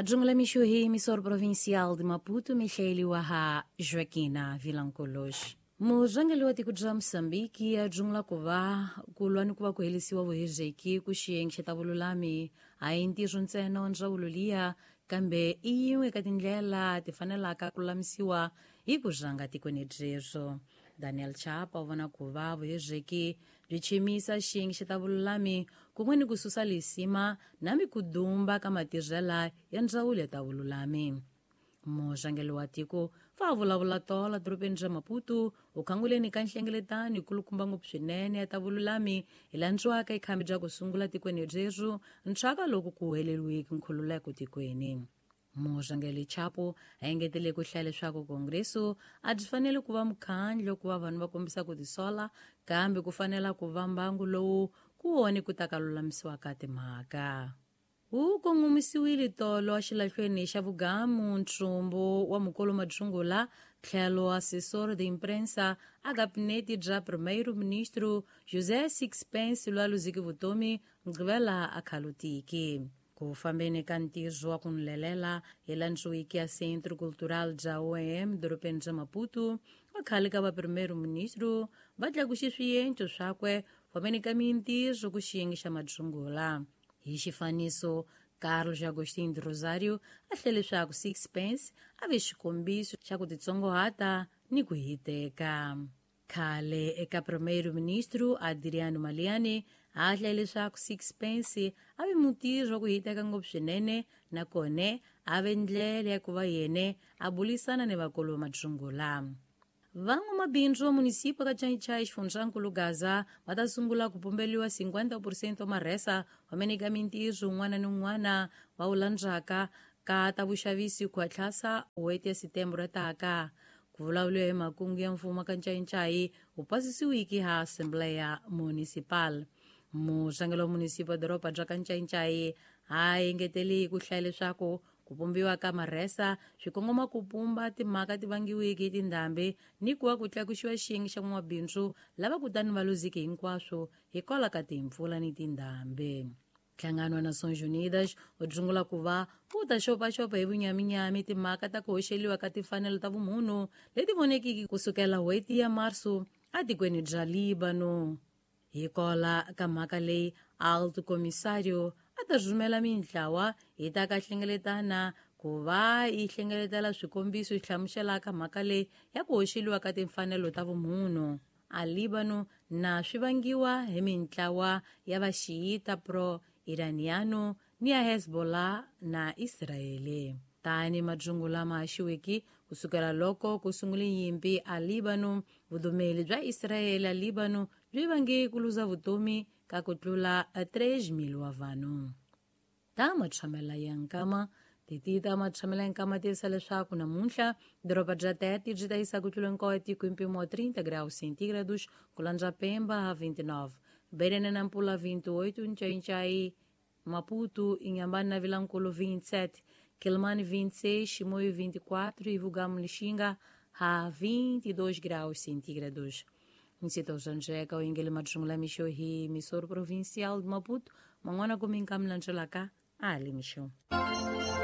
Majungula mixo hi emisor provincial de Maputo, Michele Waha Joaquina Vilanculos. Murhangeri wa tiko bya Mozambique a jungula ku va ku lwa ni ku va ku herisiwa vuhezeki ku xiyenge xa ta vululami a hi ntirho ntsena wa ndzawulo liya, kambe i yin'we ka tindlela ti fanelaka ku lulamisiwa hi ku rhanga tikweni byebyo. Daniel Chapa u vona ku va vuhezeki byi chimisa xiyenge xa ta vululami kun'we ni ku susa lisima na mikudumba ka matirhela ya ndzawulo ya ta vululami. Murhangeri wa tiko va vulavula tola dorobeni ra Maputo u khanguleni ka nhlengeletano yi kulukumba ngopfu swinene ya ta vululami hi landziwaka ikhambi bya ku sungula tikweni byebyo ntswaka loko ku heleriwiki nkhululeko tikweni. Murhangeri Chapo a engetele ku hlaya leswaku kongreso a byi fanele ku va mukhandlo ku va vanhu va kombisa ku tisola, kambe ku fanela ku va mbangu lowu ku wona ku ta ka lulamisiwa ka timhaka. Wu kongomisiwile tolo exilahlweni xa vugamu ntsumbu wa mukolo Madzungula tlhelo assessor de imprensa a gabinete bya primeiro-ministro José Sixpence loyi a luzeke vutomi Mugqivela a khalutiki. Ku fambeni ka ntirho wa ku nlelela hi landziwiki ya Centro Cultural bya OEM dorobeni bya Maputo, va khale ka va primeiro-ministro va tlakuxe swiendlo swakwe fambeni ka mintirho ku xiyenge xa Madzungula. Hi xifaniso, Carlos Agostinho de Rosario a hlele leswaku Sixpence a ve xikombiso xa ku titsongohata ni ku hiteka. Khale eka primeiro-ministro Adriano Maleiane a hlele leswaku Sixpence a ve mutirhi wa ku hiteka ngopfu swinene, nakona a ve ndlela ya ku va yena a bulisana ni vakulu va Madzungula. Van'wamabindzu va munisipa ka Chaichai xifundzankulu Gaza va ta sungula ku pumberiwa 50% wa marhesa wa meneka mintirho un'wana ni un'wana va wu landzaka ka ta vuxavisi ku hatlasa n'hweti ya Setembro taka. Ku vulavuriwa hi makungu ya mfumo ka Ncayincayi wu pasisiwiki ha Assembleia Municipal. Murhangeri wa munisipa doroba bya ka Ncayincayi a engeteli ku hlaya leswaku ku pumbiwa ka marhesa swi kongoma ku pumba timhaka ti vangiwiki hi tindhambi ni ku va ku tlakuxiwa xiyenge xa n'wamabindzu lava kutani va luziki hinkwaswo hikwalaho ka timpfula ni tindhambi. Nhlangano wa Nações Unidas wu dzungula ku va wu ta xopaxopa hi vunyaminyami timhaka ta ku hoxeliwa ka timfanelo ta vumunhu leti vonekiki kusukela n'hweti ya Marso atikweni bya Líbano. Hikwalaho ka mhaka leyi, Alto Comissário a ta rhumela mintlawa yi ta ka hlengeletana ku va yi hlengeletela swikombiso swi hlamuselaka mhaka leyi ya ku hoxeliwa ka timfanelo ta vumunhu a Líbano na swi vangiwa hi mintlawa ya vaxiyita pro-Iraniano ni ya Hezbollah na Israele. Tani madzungu lama haxiwiki kusukela loko ku sungule nyimpi a Líbano, vudumeli bya Israele a Líbano byi vange ku luza vutomi ka ku tlula 3,000 wa vanhu. Ta matshamela ya nkama titi ta matshamela ya nkama tivisa leswaku namuntlha doroba bya Tete byi ta yisa ku tlula nkoyo tiko hi mpimo wa 30 graus centígrados, ku landza Pemba ha 29, Beira na Nampula 28, Ncainchai, Maputo, Inhambane na Vilanculo 27, Quelimane 26, Chimoio 24 e Vugamu Lixinga a 22 graus centígrados. Nsita usanjeka uingele majungula mixo hi emisor provincial de Maputo, man'wana kuminka milandzelaka ali mixo.